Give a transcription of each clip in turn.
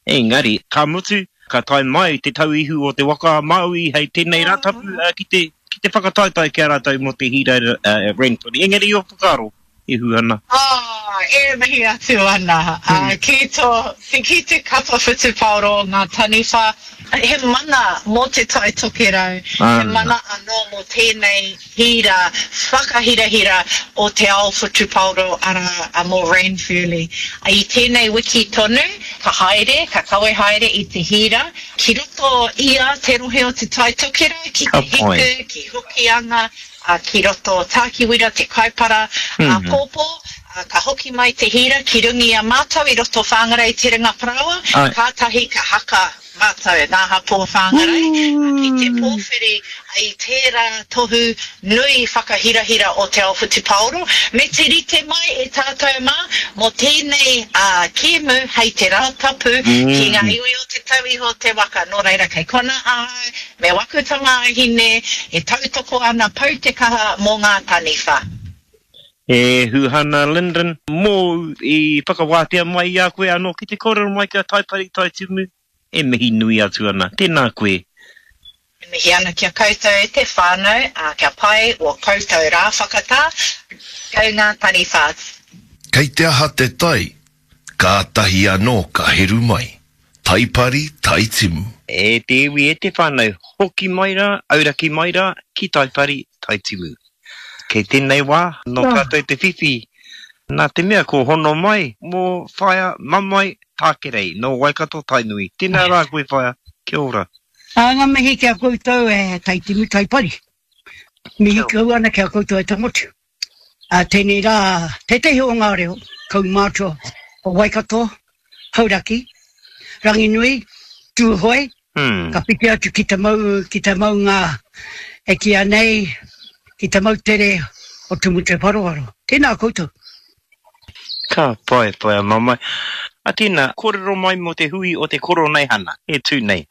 Engari, ka mutu, ka tae mai te tauihu o te waka a Māui hei tēnei Rātapu ki te, ki te whakataetae ki a rātou mō te hīra Ranfurly. Engari ō whakaaro e hū ana. Oh, e mihi atu ana ki tō, ki te kapa whutupaoro o ngā taniwha. He mana mō Te Tai Tokerau, he mana anō mō tēnei hīra whakahirahira o te ao whutupaoro, arā, mō Ranfurly. I tēnei wiki tonu, ka haere, ka kawe haere i te hīra ki roto i a te rohe o Te Tai Tokerau, ki Te Hiku, ki Hokianga, ki roto Tākiwira, Te Kaipara, āpōpō, ka hoki mai te hīra ki runga i a mātou i roto Whāngarei Te Ringa Parāoa, kātahi ka haka mātou, ngā hapū o Whāngarei, ki te pōwhiri i tērā tohu nui whakahirahira o te ao whutupaoro, me te rite mai e tātou mā mō tēnei kēmu hei te Rātapu ki ngā iwi o Te Tauihu o te Waka. Nō reira kei konā ahau me waku tamāhine e tautoko ana pau te kaha mō ngā taniwha. E Huhana Lyndon, mōu i whakawātea mai i a koe anō ki te kōrero mai ki a Taipari Taitimu, e mihi nui atu ana. Tēnā koe. E mihi ana ki a koutou e te whānau, ā, kia pai o koutou rā whakatā, kau ngā taniwha. Kei te aha te tai, kātahi anō ka heru mai. Taipari, Taitimu. E te iwi, e te whānau, hoki mai rā, auraki mai rā, ki Taipari, Taitimu. Kei tēnei wā, nō tātou te whiwhi, nā te mea kua hono mai mō Whaea Mamae Tākerei, nō Waikato Tainui. Tēnā rā koe Whaea, kia ora. Ā, ngā mihi ki a koutou e Taitimu Taipari. Mihi kau ana ki a koutou e te motu. Ā tēnei rā, tētehi o ngā reo kaumātua o Waikato, Hauraki, Ranginui, Tūhoe, ka whiti atu ki te mau, ki te maunga e kīia nei, ki te moutere o Tumutewharowaro. Tēnā koutou. Ka pai, pai a Mamae. A tēnā, kōrero mai mō te hui o te Koroneihana e tū nei.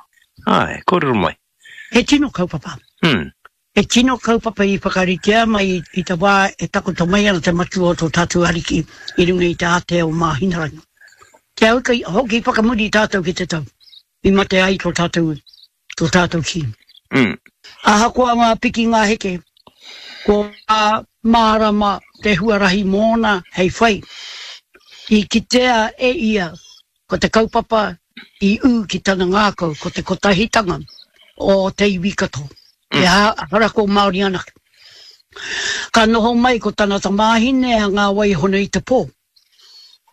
Āe, kōrero mai. He tino kaupapa. He tino kaupapa i whakaritea mai i te wā e takoto mai ana te matua o tō tātou Ariki i runga i te ātea o Māhinarangi. Kia hoki, hoki whakamuri tātou ki te tau i mate ai tō tātou, tō tātou Kīngi. Mm. Ahakoa ngā piki ngā heke, kua mārama te huarahi mōna hei whai. I kitea e ia ko te kaupapa i ū ki tana ngākau ko te kotahitanga o te iwi katoa, ehara ko Māori anake. Ka noho mai ko tana tamāhine a Ngā Waihono-i-te-pō.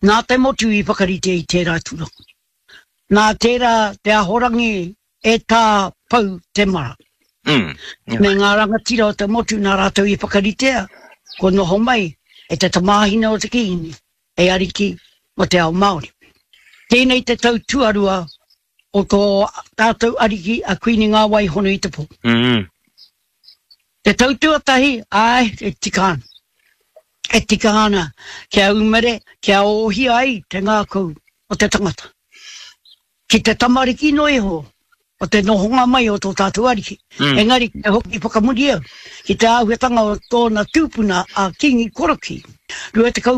Nā te motu i whakarite i tērā tūranga. Nā tērā te ahorangi e Tā Pou Temara me ngā rangatira o te motu nā rātou i whakaritea kua noho mai e te tamāhine o te Kīngi hei ariki mō te ao Māori. Tēnei te tau tuarua o tō tātou ariki a Kuini Ngā Wai Hono i te Pō. Te tau tuatahi, āe, e tika ana. E tika ana kia umere, kia ōhia ai te ngākau o te tangata. Ki te tamariki noa iho o te nohonga mai o tō tātou Ariki. Engari ki te hoki whakamuri au ki te āhuatanga o tōna tūpuna a Kīngi Korokī. 24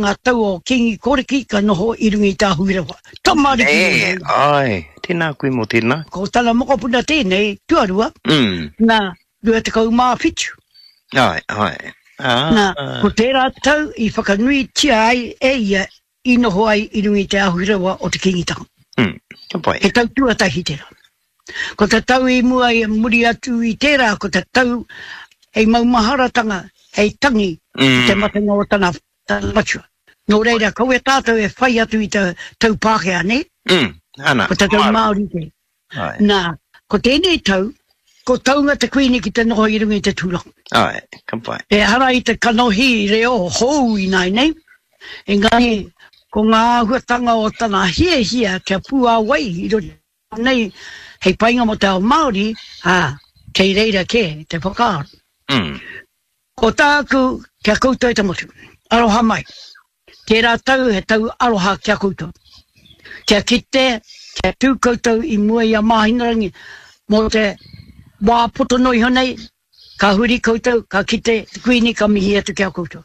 ngā tau o Kīngi Korokī ka noho i runga i te ahurewa. Tamariki noa iho. Āe, tēnā koe mō tēnā. Ko tana mokopuna tēnei, tuarua, nā, 27. Āe, āe. Nā, ko tērā tau i whakanuitia ai e ia i noho ai i runga i te ahurewa o te Kīngitanga. Mm, ka pai. He tau tuatahi tērā. Ko te tau i mua i muri atu i tērā, ko te tau hei maumaharatanga, hei tangi i te matenga o tana, tana matua. Nō reira, kaua tātou e whai atu i te tau Pākehā, nē? Mm, ana. Ko te tau Māori kē. Āe. Nā, ko tēnei tau, ko taunga te Kuini ki te noho i runga i te tūranga. Āe, ka pai. Ehara i te kanohi reo hou ināianei, engari ko ngā āhuatanga o tana hiahia kia puāwai i roto nei hei painga mō te ao Māori, ā, kei reira kē te whakaaro. Mm. Ko tāku ki a koutou e te motu, aroha mai. Tērā tau he tau aroha ki a koutou. Kia kite, kia tū koutou i mua i a Māhinarangi mō te wā poto noa iho nei, ka huri koutou, ka kite te Kuini ka mihi atu ki a koutou.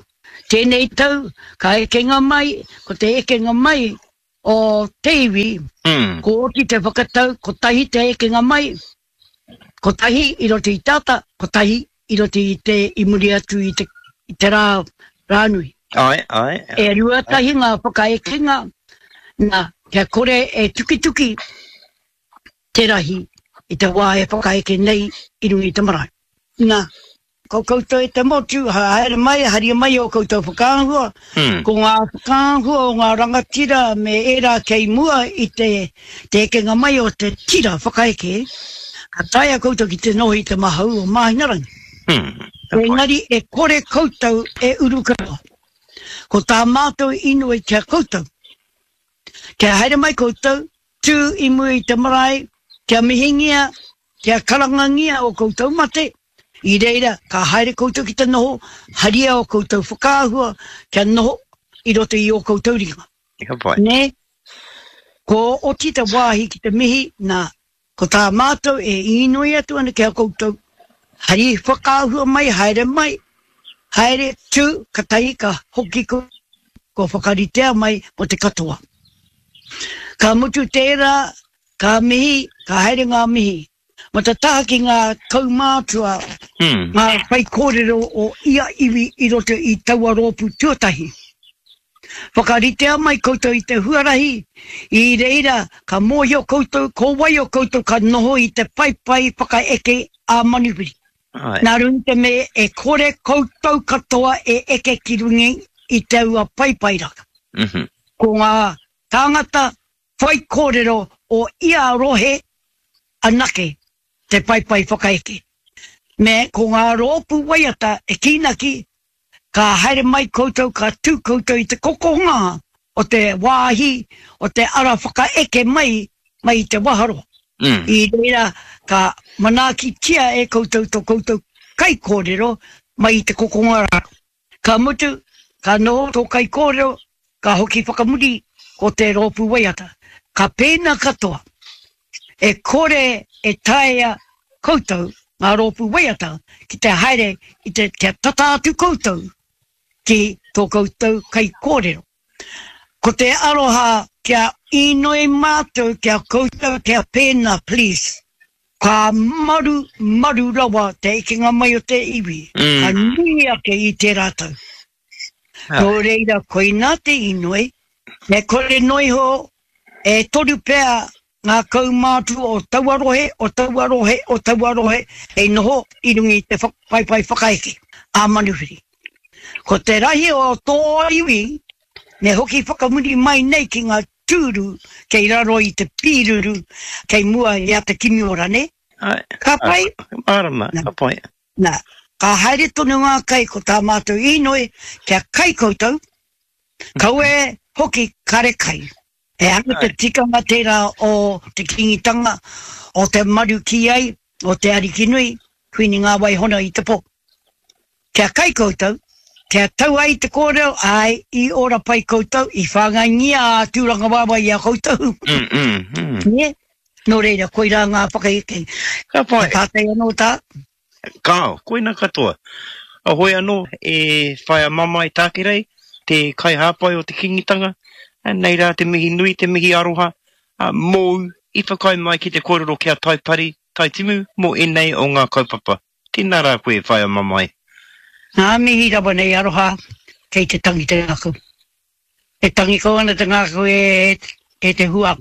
Tēnei tau, ka ekenga mai, ko te ekenga mai. o te iwi, ko oti te whakatau kotahi te ekenga mai, kotahi i roto i te ata, kotahi i roto i te, i muri atu i te, i te rā, rānui. Āe, āe. E ruatahi ngā whakaekenga, nā, kia kore e tukituki te rahi i te wā e whakaeke nei i runga i te marae. Nā, ko koutou e te motu, haere mai, haria mai ō koutou whakaahua, ko ngā whakaahua o ngā rangatira me ērā kei mua i te, te ekenga mai o te tira whakaeke, ka taea koutou ki te noho i te mahau o Māhinarangi. Engari e kore koutou e uru katoa. Ko tā mātou inoi ki a koutou, kia haere mai koutou, tū i mua i te marae, kia mihingia, kia karangangia ō koutou mate, i reira ka haere koutou ki te noho, haria ō koutou whakaahua kia noho i roto i ō koutou ringa. Ka pai. Nē? Kua oti te wāhi ki te mihi, nā, ko tā mātou e īnoi atu ana ki a koutou, hari whakaahua mai, haere mai, haere, tū, katahi ka hoki koutou, kua whakaritea mai mō te katoa. Ka mutu tērā, ka mihi, ka haere ngā mihi. Mō te taha ki ngā kaumātua, ngā whaikōrero o ia iwi i roto i taua rōpū tuatahi. Whakaritea mai koutou i te huarahi, i reira ka mōhio koutou ko wai o koutou ka noho i te paepae whakaeke ā-manuwhiri. Nā runga i te mea e kore koutou katoa e eke ki runga i taua paepae rā. Ko ngā tāngata whaikōrero o ia rohe anake te paepae whakaeke. Me ko ngā rōpū waiata e kīnaki ka haere mai koutou ka tū koutou i te kokonga o te wāhi o te ara whakaeke mai mai i te waharoa. I reira ka manaakitia e koutou to koutou kaikōrero mai i te kokonga rā. Ka mutu, ka noho tō kaikōrero, ka hoki whakamuri ko te rōpū waiata. Ka pēnā katoa. E kore e taea koutou, ngā rōpū waiata, ki te haere i te, kia tata atu koutou ki tō koutou kaikōrero. Ko te aroha kia inoi mātou ki a koutou kia pēnā, please. Ka maru, maru rawa te ekenga mai o te iwi, ka nui ake i tērā tau. Nō reira, koinā te inoi, me kore noa iho e toru pea ngā kaumātua o taua rohe, o taua rohe, o taua rohe hei noho i runga i te paepae whakaeke ā-manuwhiri. Ko te rahi o tō iwi me hoki whakamuri mai nei ki ngā tūru kei raro i te pīruru kei mua i a Te Kimiora, nē? Ka pai? Mārama, ka pai. Nā, ka haere tonu ngā kai ko tā mātou īnoi kia kai koutou, kaua e hoki kare kai. Ehara te tikanga tērā o te Kīngitanga, o te maru kī ai, o te Arikinui, Kuini Ngā-wai-hona i te pō. Kia kai koutou, kia tau ai te kōrero, āe, i ora pai koutou, i whāngaingia a Tūrangawaewae i a koutou. Nē? Nō reira, koirā ngā whakaeke. Ka pai. He pātai anō tā? Kāo, koina katoa. Hoi anō, e Whaea Mamae Tākerei, te kaihāpai o te Kīngitanga, nei rā te mihi nui, te mihi aroha, mōu i whakaae mai ki te kōrero ki a Taipari, Taitimu mō ēnei o ngā kaupapa. Tēnā rā koe, Whaea Mamae. Ngā mihi rawa nei aroha kei te tangi te ngākau. E tangi kau ana te ngākau e e te hua.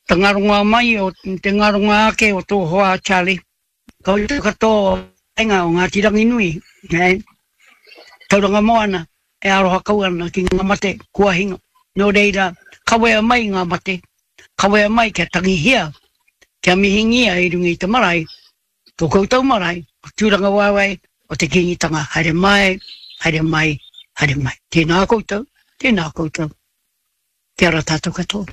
Te ngaronga mai o te ngaronga ake o tō hoa Charlie. Koutou katoa o Kainga o Ngāti Ranginui, eh, Tauranga Moana e aroha kau ana ki ngā mate kua hinga. Nō reira, kawea mai ngā mate, kawea mai kia tangihia, kia mihingia i runga i te marae, Tō koutou marae, o Tūrangawaewae, o te Kīngitanga, haere mai, haere mai, haere mai. Tēnā koutou, tēnā koutou. Kia ora tātou katoa.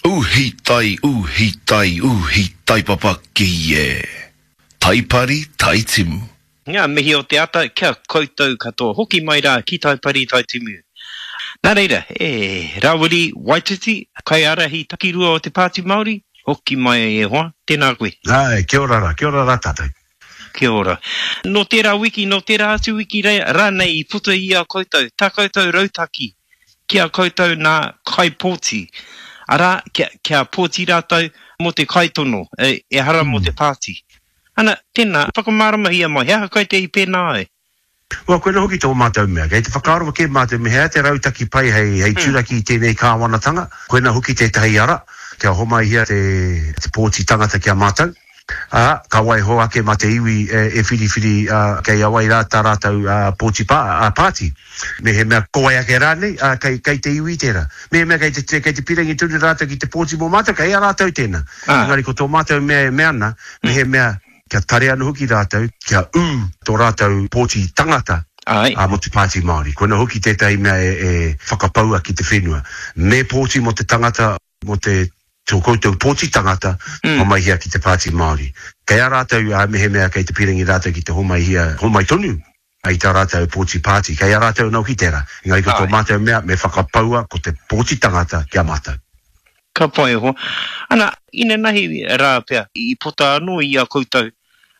Uhi tai, uhi tai, uhi tai papaki e. Tai pari, tai timu. Ngā mihi o te ata kia koutou katoa. Hoki mai rā ki Taipari, Taitimu. Nā reira, e Rawiri Waititi, kaiārahi takirua o te Pāti Māori, hoki mai e hoa, tēnā koe. Āe, kia ora rā, kia ora rā tātou. Kia ora. Nō tērā wiki, nō tērā atu wiki rānei i puta i a koutou, tā koutou rautaki ki a koutou nā kaipōti. Arā, kia, kia pōti rātou mō te kaitono, e, ehara mō te pāti. Ana, tēnā, whakamāramahia mai, he aha koe te i pēnā ai? Well, koina hoki tō mātou mea. Kei te whakaaro kē mātou me he aha te rautaki pai hei, hei turaki i tēnei kāwanatanga, koina hoki tētahi ara kia homaihia te, te pōti tangata ki a mātou, ā, ka waiho ake mā te iwi e, e whiriwhiri, ā, kei a wai rā tā rātou, ā, pōti pā, ā, pāti. Mehemea ko wai ake rānei, ā, kei, kei te iwi tērā. Mehemea kei te, kei te pīrangi tonu rātou ki te pōti mō mātou, kei a rātou tēnā. Engari ko tō mātou mea e mea ana, mehemea kia tare anō hoki rātou, kia ū tō rātou pōti tangata mō te Pāti Māori. Koina hoki tētahi mea e whakapaua ki te whenua. Me pōti mō te tangata, mō te tō koutou pōti tangata, homaihia ki te Pāti Māori. Kei a rātou, mehemea kei te pīrangi rātou ki te homaihia, homai tonu i tā rātou pōti pāti. Kei a rātou anō hoki tērā. Engari ko tō mātou mea, me whakapaua ko te pōti tangata ki a mātou. Ka pai e hoa. Ana, inanahi rā pea i puta anō i a koutou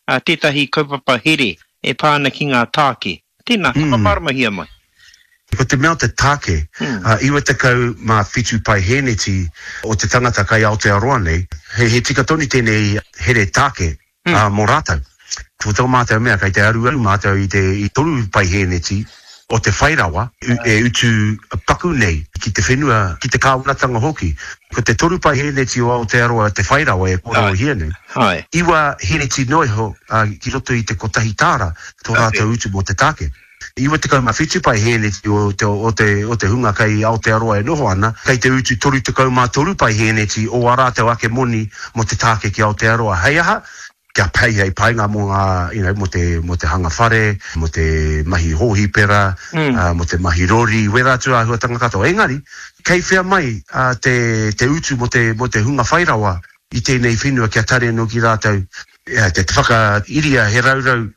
tētahi kaupapa here e pā ana ki ngā tāke. Tēnā, whakamāramahia mai. Ko te mea o te tāke, 97 paihēneti o te tangata kai Aotearoa nei, he tika tonu tēnei here tāke ā, mō rātou. Ko tō mātou mea, kei te aruaru mātou i te i toru paihēneti o te whai rawa e utu paku nei ki te whenua, ki te kāwanatanga hoki. Ko te toru paihēneti o Aotearoa te whai rawa e kōrerohia nei, iwa hēneti noa iho ki roto i te kotahi tāra tō rātou utu mō te tāke. 97 paihēneti o te, o te, o te hunga kei Aotearoa e noho ana, kei te utu 33 paihēneti o ā rātou ake moni mō te tāke ki Aotearoa. Hei aha? Kia pei hei painga mō ngā, you know, mō te, mō te hanga whare, mō te mahi hōhipera, mō te mahi rori, wērā atu āhuatanga katoa. Engari, kei whea mai te, te utu mō te, mō te hunga whai rawa i tēnei whenua kia tare anō ki rātou, te whakairia he raurau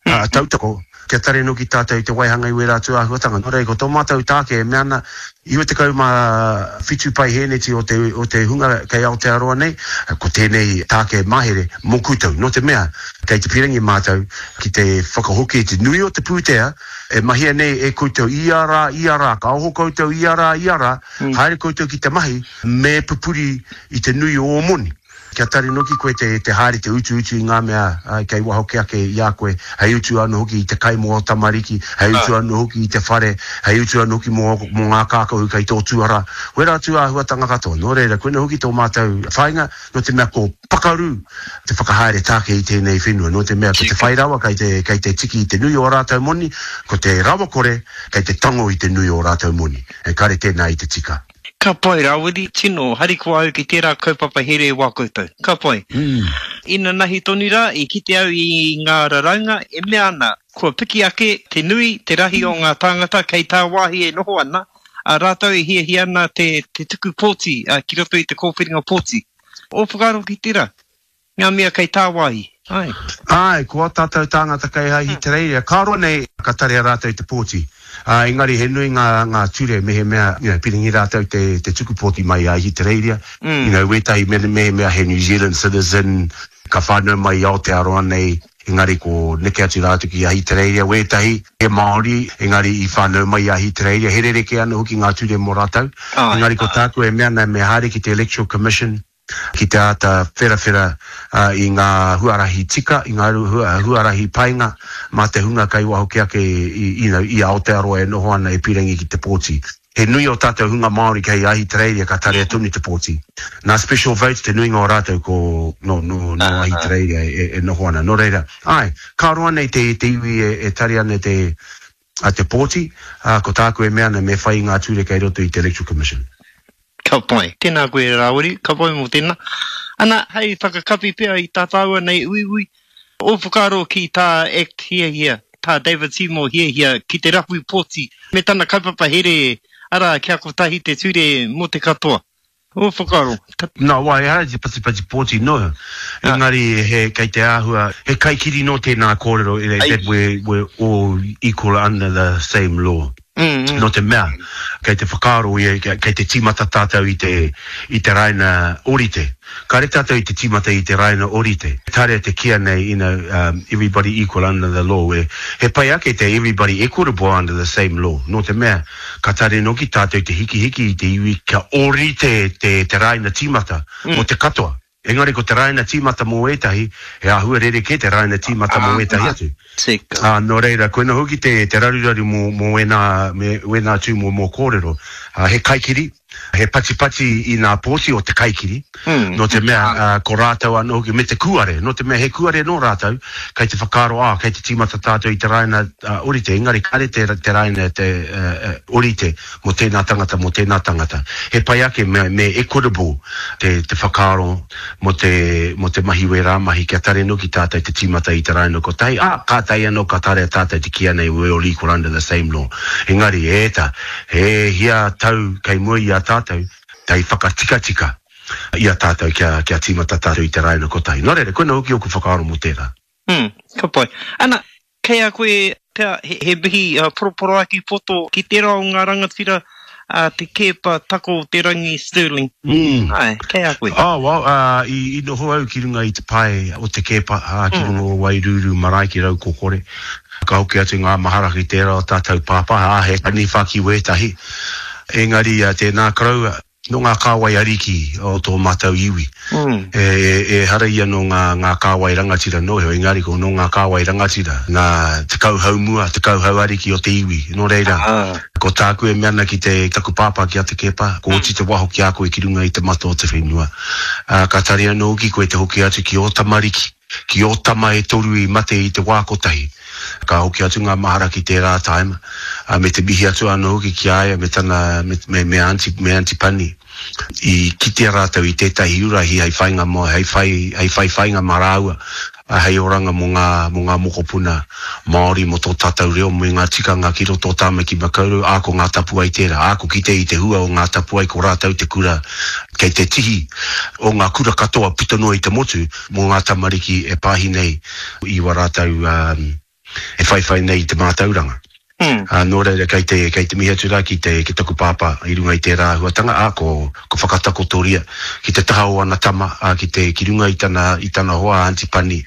ā, tautoko, kia tare noki tātou i te waihanga i wērā atu āhuatanga. Nō reira, ko tō mātou tāke e mea ana, 97 paihēneti o te, o te hunga kei Aotearoa nei, ko tēnei tāke mahere mō koutou. Nō te mea, kei te pīrangi mātou ki te whakahoki i te nui o te pūtea e mahia nei e koutou ia rā, ia rā, ka oho koutou ia rā, ia rā, haere koutou ki te mahi, me pupuri i te nui o ō moni. Kia tari noki koe te te haere te utuutu i ngā mea kei waho ke ake i a koe, hei utu anō hoki i te kai mō ō tamariki, hei utu anō hoki i te whare, hei utu anō hoki mō mō ngā kākahu kei tō tuara. Wērā atu āhuatanga katoa. Nō reira, koinā hoki tō mātou whāinga, nō te mea ko pakaru te whakahaere tāke i tēnei whenua, nō te mea ko te whai rawa kei te kei te tiki i te nui o ā rātou moni, ko te rawakore kei te tango i te nui o ā rātou moni. E kare tēnā i te tika. Ka pai Rawiri, tino harikoa au ki tērā kaupapa here wā koutou. Ka pai. Inanahi tonu rā, i kite au i ngā raraunga e mea ana, kua piki ake te nui, te rahi o ngā tāngata kei tāwāhi e noho ana, ā, rātou e hiahia ana te tuku pōti ki roto i te kōwhiringa pōti. Ō whakaaro ki tērā? Ngā mea kei tāwāhi, āe. Āe, ko ā tātou tāngata kei Ahitereiria, ka roa nei ka tarea rātou te pōti. Ā, engari he nui ngā, ngā ture mehemea, you know, piringi rātou te, te tuku pōti mai i Ahitereiria. You know, wētahi me, mehemea he New Zealand citizen, ka whānau mai i Aotearoa nei, engari ko neke atu rātou ki Ahitereiria. Wētahi, he Māori, engari i whānau mai i Ahitereiria. He rerekē anō hoki ngā ture mō rātou. Engari ko tāku e mea ana, me haere ki te Electoral Commission, ki te āta wherawhera i ngā huarahi tika, i ngā huarahi painga mā te hunga kei waho kē ake i, you know, i Aotearoa e noho ana e pīrangi ki te pōti. He nui ō tātou hunga Māori kei Ahitereiria ka tarea tonu te pōti. Nā Special Votes te nuinga o rātou ko, nō, nō, nō Ahitereiria e, e noho ana. Nō reira, āe, ka roa nei te, te iwi e, e tare ana te, te pōti, ā, ko tāku e mea ana me whai i ngā ture kei roto i te Electoral Commission. Ka pai. Tēnā koe Rāwiri, ka pai mō tēnā. Ana, hei whakakapi pea i tā tāua nei uiui, ō whakaaro ki tā act hiahia, tā David Seymour hiahia ki te rahui pōti me tana kaupapa here, arā, kia kotahi te ture mō te katoa. Ō whakaaro. Nā wai, ehara i te patipati pōti noa, engari he, kei te āhua, he kaikiri nō tēnā kōrero, that we're, we're all equal under the same law. Nō te mea, kei te whakaaro ia, kei te tīmata tātou i te, i te raina ōrite. Kāre tātou i te tīmata i te raina ōrite. Tarea te kīa nei, you know, everybody equal under the law, e, he pai ake te everybody equitable under the same law, nō te mea, ka tarea noki tātou te hikihiki i te iwi kia ōrite te, te raina tīmata mō te katoa. Engari ko te raina tīmata mō ētahi, he āhua rerekē te raina tīmata mō ētahi atu. Tika. Ā, nō reira, koina hoki te, te raruraru mō, mō ēnā, me, wēnā tū mō, mō kōrero. Ā, he kaikiri, he patipati i nā pōti o te kaikiri, nō te mea, ā, ko rātou anō hoki, me te kūare, nō te mea he kūare nō rātou, kei te whakaaro, ā, kei te tīmata tātou i te raina, ā, orite, engari kāre te, te raina te, ā, ā, orite. mō tēnā tangata, mō tēnā tangata. He pai ake me, me equitable te, te whakaaro mō te, mō te mahi wērā mahi kia tare noki tātou te tīmata i te raina kotahi, ā, kātahi anō ka tarea tātou te kīia nei we all equal under the same law. Engari, e ta, he hia tau kei mua i a tātou hei whakatikatika i a tātou kia, kia tīmata tātou i te raina kotahi. Nō reira, koina hoki ōku whakaaro mō tērā. Mm, ka pai. Ana, Kei a koe pea he mihi poroporoaki poto ki tērā o ngā rangatira a Te Keepa Tako o te Rangi Stirling. Āe, kei a koe. Oh, well, i noho au ki runga i te pae o Te Keepa, ki runga o Wairūrū marae ki Raukokore. Ka hoki atu ngā mahara ki tērā o tātou pāpā, ā, he taniwha ki wētahi. Engari, tēnā koroua, Nō ngā kāwai ariki o tō mātou iwi. Ehara ia nō ngā, ngā kāwai rangatira noa iho, engari ko nō ngā kāwai rangatira, ngā 10 hau mua, 10 hau ariki o te iwi. Nō reira, ko tāku e mea ana ki te, taku pāpā ki a Te Keepa, ko oti te waho ki a koe ki runga i te mata o te whenua. Ā, ka tari anō hoki koe te hoki atu ki ō tamariki, ki ō tama e toru i mate i te wā kotahi. Ka hoki atu ngā mahara ki tērā tāima, ā, me te mihi atu anō hoki ki a ia me tana, me, me, me Aunty, me Aunty Pani. I kitea rātou i tētahi urahi hei whainga mō, hei whai, hei whai whainga mā rāua, ā, hei oranga mō ngā, mō ngā mokopuna Māori, mō tō tātou reo, me ngā tikanga ki roto o Tāmaki Makaurau, ā, ko Ngā Tapuwae tērā. Ā, ko kite i te hua o Ngā Tapuwae, ko rātou te kura kei te tihi o ngā kura katoa puta noa i te motu, mō ngā tamariki e pāhi nei i wā rātou e whaiwhai nei i te mātauranga. Ā, nō reira, kei te, kei te mihi atu rā ki te, ki taku pāpā i runga i tērā āhuatanga, ā, ko, ko whakatakotoria ki te taha o ana tama, ā, ki te, ki runga i tana, i tana hoa a Aunty Pani,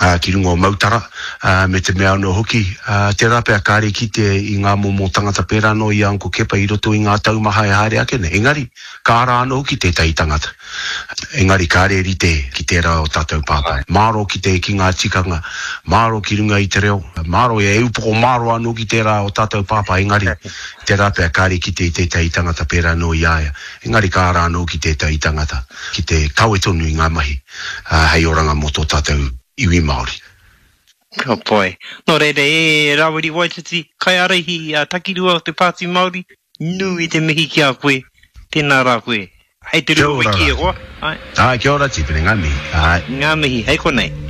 ā, ki runga o Mautara, ā, me te mea anō hoki, ā, tērā pea kāre i kite i ngā momo tangata pērā anō i a Uncle Kepa i roto i ngā tau maha e haere ake nei. Engari, ka ara anō hoki tētahi tangata. Engari kāre e rite ki tērā o tātou pāpā. Māro ki te, ki ngā tikanga, māro ki runga i te reo, māro e upoko māro anō ki tērā o tātou pāpā, engari, tērā pea kāre i kite i tētahi tangata pērā anō i a ia. Engari ka ara anō ki tētahi tangata ki te kawe tonu i ngā mahi hei oranga mō tō tātou iwi Māori. Ka pai. Nō reira, e Rāwiri Waititi, kaiārahi takirua o te Pāti Māori, Nui te mihi ki a koe, tēnā rā koe. Hei te Kia rua ora wiki rā. e hoa, āe. Āe, kia ora Tipene, ngā mihi, āe. Ngā mihi, hei konei.